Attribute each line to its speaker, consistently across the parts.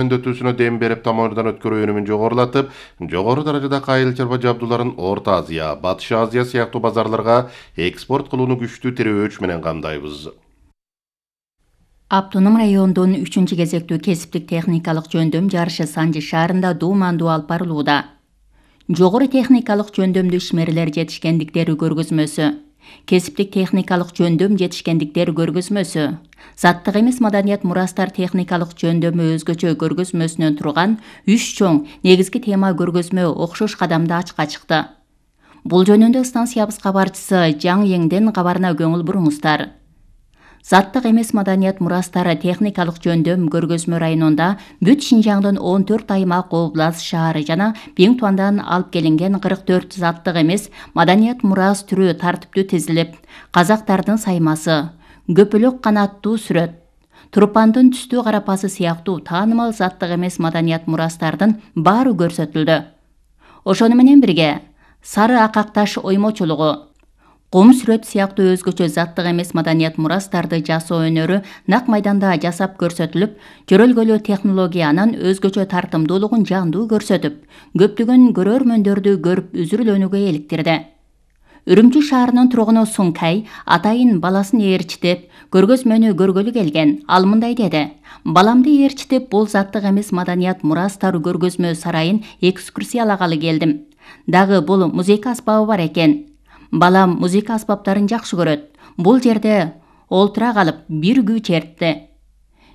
Speaker 1: Өндөтүүсүнө дем берип, тамырдан өткөрүү өнүмүн жогорулатып, жогору даражадагы айыл чарба жабдууларын Орто Азия, Батыш Азия сыяктуу базарларга экспорт кылууну күчтүү тирөөч менен камдайбыз.
Speaker 2: Автоном райондун 3 кезектүү кесиптик техникалык жөндөм жарышы Санжы шаарында дуумандуу алып барылууда. Жогору техникалык жөндөмдүү ишмерлер жетишкендиктери көргөзмөсү, кесиптик техникалык жөндөм жетишкендиктер көргөзмөсү, заттык эмес маданият мурастар техникалык жөндөмү өзгөчө көргөзмөсүнөн турган 3 чоң негизги тема көргөзмө окшош кадамда ачыкка чыкты. Бул жөнүндө станциябыз кабарчысы Жаң Еңден кабарына көңүл буруңуздар. Заттык эмес маданият мурастары техникалык жөндөм көргөзмө районунда бүт Шинжаңдын 14 аймак, облас, шаары жана Биңтуандан алып келинген 44 заттык эмес маданият мурас түрү тартиптүү тизилип, казактардын саймасы, көпөлөк канаттуу сүрөт, турпандын түстүү карапасы сыяктуу таанымал заттык эмес маданият мурастардын баары көрсөтүлдү. Ошону менен бирге сары акакташ оймочулугу, кум сүрөт сыяктуу өзгөчө заттык эмес маданият мурастарды жасоо өнөрү нак майданда жасап көрсөтүлүп, көрөлгөлүү технологиянын өзгөчө тартымдуулугун жандуу көрсөтүп, көптөгөн көрөрмөндөрдү көрүп үзүрүлөнүүгө иликтирди. Үрүмчү шаарынын тургуну Сункай атайын баласын ээрчитип, көргөзмөнү көргөлү келген. Ал мындай деди: "Баламды ээрчитип, бул заттык эмес маданият мурастар көргөзмө сарайын экскурсиялагалы келдим. Дагы бул музыка аспабы бар экен. Балам музыка аспаптарын жакшы көрөт. Бул жерде олтура калып бир күү чертти.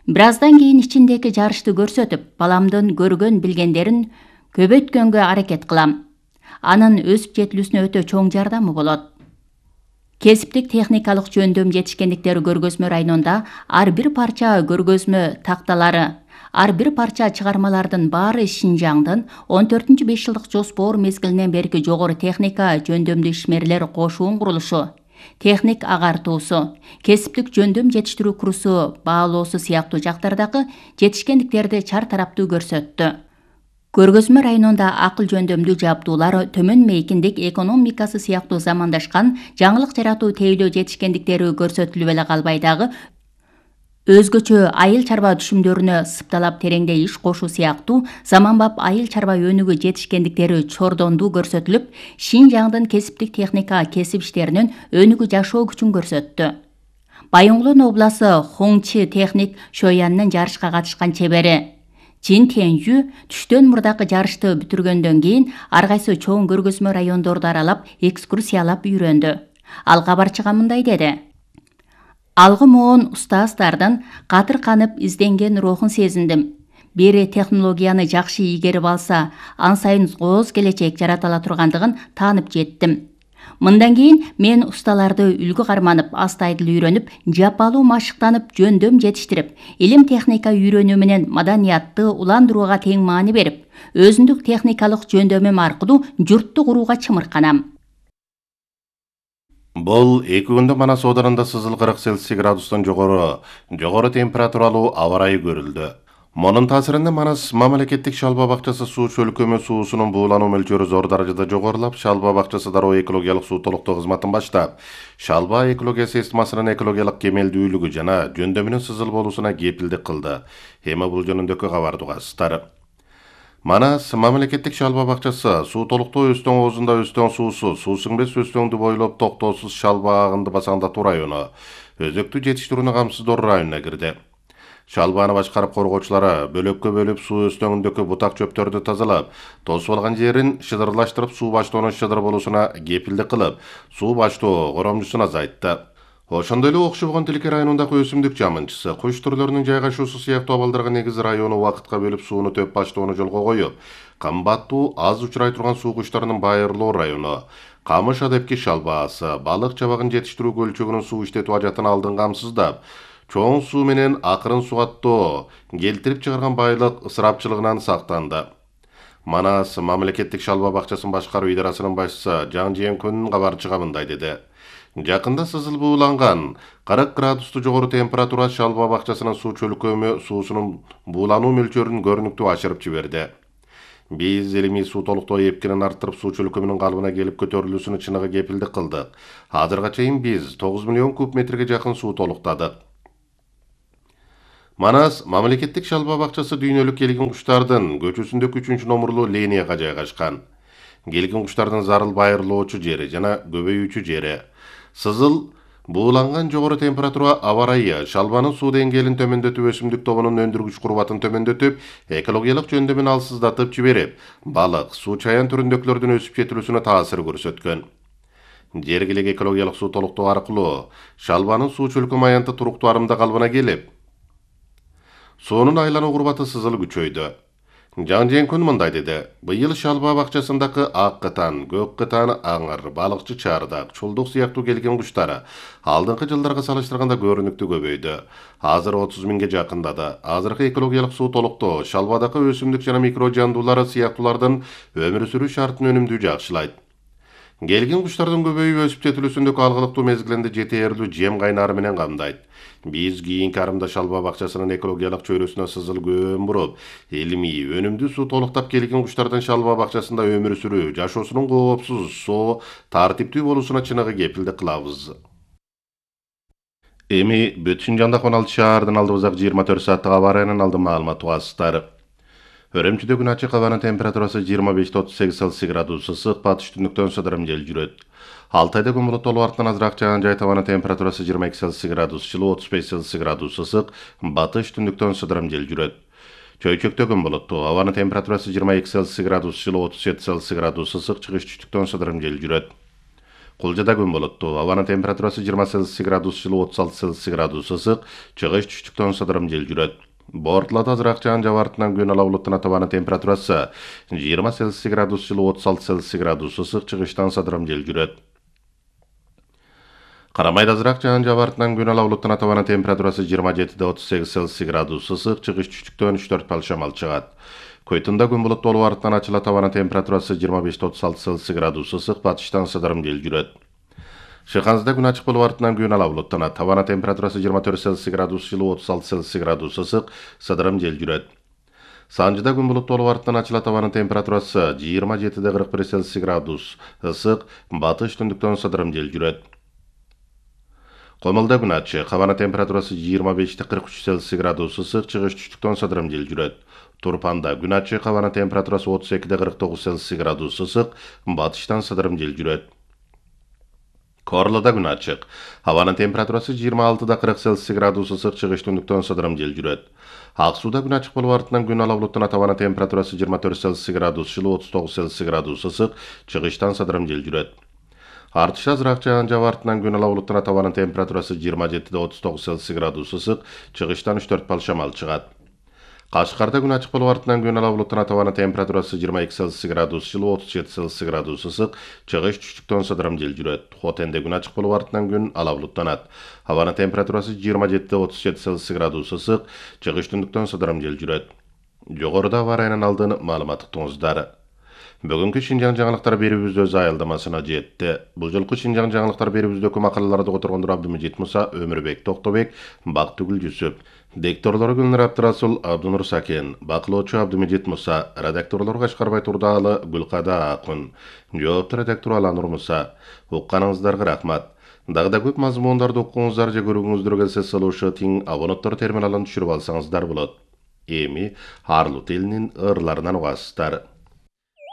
Speaker 2: Бир аздан кийин ичиндеги жарышты көрсөтүп, баламдын көргөн билгендерин көбөйткөнгө аракет кылам. Анын өсүп жетилүүсүнө өтө чоң жардамы болот." Кесиптик техникалык жөндөм жетишкендиктер көргөзмө районунда ар бир парча көргөзмө такталары, ар бир парча чыгармалардын баары Шинжаңдын 14-5 жылдык жоспор мезгилинен берки жогору техника жөндөмдүү ишмерлер кошуун курулушу, техник агартуусу, кесиптик жөндөм жетиштирүү курсу баалоосу сыяктуу жактардагы жетишкендиктерди чар тараптуу көрсөттү. Көргөзмө районунда акыл жөндөмдүү жабдуулар, төмөн мейкиндик экономикасы сыяктуу замандашкан жаңылык жаратуу тейлөө жетишкендиктери көрсөтүлүп эле калбай дагы өзгөчө айыл чарба түшүмдөрүнө сыпталап тереңдей иш кошуу сыяктуу заманбап айыл чарба өнүгүү жетишкендиктери чордондуу көрсөтүлүп, Шинжаңдын кесиптик техника кесип иштеринин өнүгүү жашоо күчүн көрсөттү. Байоңгулон обласы Хоңчи техник Шояннын жарышка катышкан чебери Чин Тенжү түштөн мурдакы жарышты бүтүргөндөн кийин ар кайсы чоң көргөзмө райондорду аралап, экскурсиялап үйрөндү. Ал кабарчыга мындай деди: "Алгы моон устаздардын катыр канып изденген рухун сезиндим. Бери технологияны жакшы ийгерип алса, ан сайын кооз келечек жарата ала тургандыгын таанып жеттим. Мындан кийин мен усталарды үлгү карманып, астайдыл үйрөнүп, жапалуу машыктанып, жөндөм жетиштирип, илим техника үйрөнүү менен маданиятты уландырууга тең маани берип, өзүндүк техникалык жөндөмүм аркылуу журтту курууга чымырканам."
Speaker 1: Бул 2 күндө Манас оодарында сызыл 40 Цельсий градустан жогору температуралуу аба ырайы көрүлдү. Монун таасиринде Манас мамлекеттик шалба бакчасы суу чөлкөмү суусунун буулануу мөлчөрү зор даражада жогорулап, шалба бакчасы дароо экологиялык суу толуктоо кызматын баштап, шалба экология системасынын экологиялык кемелдүүлүгү жана жөндөмүнүн сызыл болуусуна кепилдик кылды. Эми бул жөнүндөгү кабарды угасыздар. Манас мамлекеттик шалба бакчасы суу толуктоо Өстөң оозунда Өстөң суусу, суу сиңбес Өстөңдү бойлоп токтоосуз шалба агынды басаңдатуу району, өзөктү жетиштирүүнү камсыздоо районуна кирди. Шалбаны башкарып коргоочулары бөлөккө бөлүп суу өстөңүндөгү бутак чөптөрдү тазалап, тосуп алган жерин шыдырлаштырып, суу баштоонун шыдыр болуусуна кепилдик кылып, суу баштоо коромчусун азайтты. Ошондой эле Окшобогон Тилке районундагы өсүмдүк жамынчысы, куш түрлөрүнүн жайгашуусу сыяктуу абалдарга негиз району убакытка бөлүп сууну төп баштоону жолго коюп, кымбаттуу аз учурай турган суу куштарынын байырлоо району, камыш адепки шалбаасы, балык чабагын жетиштирүү көлчөгүнүн суу иштетүү ажатын алдын камсыздап, чоң суу менен акырын сугаттоо келтирип чыгарган байлык ысырапчылыгынан сактанды. Манас мамлекеттик шалба бакчасын башкаруу идарасынын башчысы Жаң Еңден кабарчыга мындай деди: "Жакында сызыл бууланган 40 градусту жогору температура шалба бакчасынын суу чөлкөмү суусунун буулануу мөлчөрүн көрүнүктүү ашырып жиберди. Биз илимий суу толуктоо эпкинин арттырып, суу чөлкөмүнүн калыбына келип көтөрүлүүсүнө чыныгы кепилдик кылдык. Азырга чейин биз 9 миллион куб метрге жакын суу толуктадык. Манас мамлекеттик шалба бакчасы дүйнөлүк келген куштардын көчөсүндөгү 3-номурлуу линияга жайгашкан. Келген куштардын зарыл байырлоочу жери жана көбөйүүчү жери. Сызыл бууланган жогору температура аба ырайы шалбанын суу деңгээлин төмөндөтүп, өсүмдүк тобунун өндүргүч курбатын төмөндөтүп, экологиялык жөндөмүн алсыздатып жиберип, балык, суу чаян түрүндөгүлөрдүн өсүп жетилүүсүнө таасир көрсөткөн. Жергилик экологиялык суу толуктоо аркылуу шалбанын суу чөлкөм аянты туруктуу арымда калыбына келип, суунун айлануу курбаты сызыл күчөйдү. Жан Женкун мындай деди: быйыл шалба бакчасындагы ак кытан, көк кытан, аңыр, балыкчы чардак, чулдук сыяктуу келген куштар алдыңкы жылдарга салыштырганда көрүнүктүү көбөйдү. Азыр 30 миңге жакындады. Азыркы экологиялык суу толуктоо шалбадагы өсүмдүк жана микро жандуулар сыяктуулардын өмүр сүрүү шартын өнүмдүү жакшылайт. Келген куштардын көбөйүп өсүп жетилүүсүндөгү алгылыктуу мезгилинде жетээрлүү жем кайнары менен камдайт. Биз кийинки арымда шалба бакчасынын экологиялык чөйрөсүнө сызыл көөн буруп, илимий, өнүмдүү суу толуктап келген куштардын шалба бакчасында өмүр сүрүү, жашоосунун коопсуз, соо, тартиптүү болуусуна чыныгы кепилдик кылабыз. Эми Бөтшүнжанда 16 шаардан алдыбызак 24 сааттык аба ырайынын алдын маалымат угасыздар. Өрөмчүдө күн ачык, абанын температурасы 25-38 Цельсий градус ысык, батыш түндүктөн сыдырым жел жүрөт. Алтайда күн булуттуу артынан азыраак жаан жайт, абанын температурасы 22 Цельсий градус жылуу, 35 Цельсий градус ысык, батыш түндүктөн сыдырым жел жүрөт. Чөйчөктө күн булуттуу, абанын температурасы 22 Цельсий градус жылуу, 37 Цельсий градус ысык, чыгыш түштүктөн сыдырым жел жүрөт. Кулжада күн булуттуу, абанын температурасы 20 Цельсий градус жылуу, 36 Цельсий градус ысык, чыгыш түштүктөн сыдырым жел жүрөт. Бортлада азыраак жаан жаап артынан күн ала булуттун атабанын температурасы 20 Цельсий градус жылуу, 36 Цельсий градус ысык, чыгыштан сыдырым жел жүрөт. Карамайда азыраак жаан жаап артынан күн ала булуттун атабанын температурасы 27-38 Цельсий градус ысык, чыгыш түштүктөн 3-4 балл шамал чыгат. Көйтүндө күн булуттуу болуп артынан ачылат, абанын температурасы 25-36 Цельсий градус ысык, батыштан сыдырым жел жүрөт. Шыханзда күн ачык болуп артынан күн ала булуттанат, абанын температурасы 24 Цельсий градус жылуу, 36 Цельсий градус ысык, сыдырым жел жүрөт. Санжыда күн булуттуу болуп артынан ачылат, абанын температурасы 27-41 Цельсий градус ысык, батыш түндүктөн сыдырым жел жүрөт. Комулда күн ачык, абанын температурасы 25-43 Цельсий градус ысык, чыгыш түштүктөн сыдырым жел жүрөт. Турпанда күн ачык, абанын температурасы 32-49 Цельсий градус ысык, батыштан сыдырым жел жүрөт. Корлода күн ачык, абанын температурасы 26-40 Цельсий градус ысык, чыгыш түндүктөн сыдырым жел жүрөт. Ак сууда күн ачык болуп артынан күн ала булуттанат, абанын температурасы 24 Цельсий градус жылуу, 39 Цельсий градус ысык, чыгыштан сыдырым жел жүрөт. Артышта азыраак жаан жаап артынан күн ала булуттанат, абанын температурасы 27-39 Цельсий градус ысык, чыгыштан 3-4 балл шамал чыгат. Кашкарда күн ачык болуп артынан күн ала булуттанат, абанын температурасы 22 Цельсий градус жылуу, 37 Цельсий градус ысык, чыгыш түштүктөн сыдырым жел жүрөт. Хотенде күн ачык болуп артынан күн ала булуттанат, абанын температурасы 27-37 Цельсий градус ысык, чыгыш түндүктөн сыдырым жел жүрөт. Жогоруда аба ырайынын алдын маалымат уктуңуздар. Бүгүнкү Шинжаң жаңылыктар берүүбүз өз аялдамасына жетти. Бул жолку Шинжаң жаңылыктар берүүбүздөгү макалаларды которгондор Абдымежит Муса, Өмүрбек Токтобек, Бактыгүл Жүсүп. Дикторлору Гүлнар Абдырасул, Абдынур Сакен, бакылоочу Абдымежит Муса, редакторлору Кашкарбай Турдаалы, Гүлкада Акын, жоопту редактор Аланур Муса. Укканыңыздарга рахмат. Дагы да көп мазмундарды укуңуздар же көрүүңүздөр келсе, салуушу тиң абоненттор терминалын түшүрүп алсаңыздар болот. Эми Арлут элинин ырларынан угасыздар.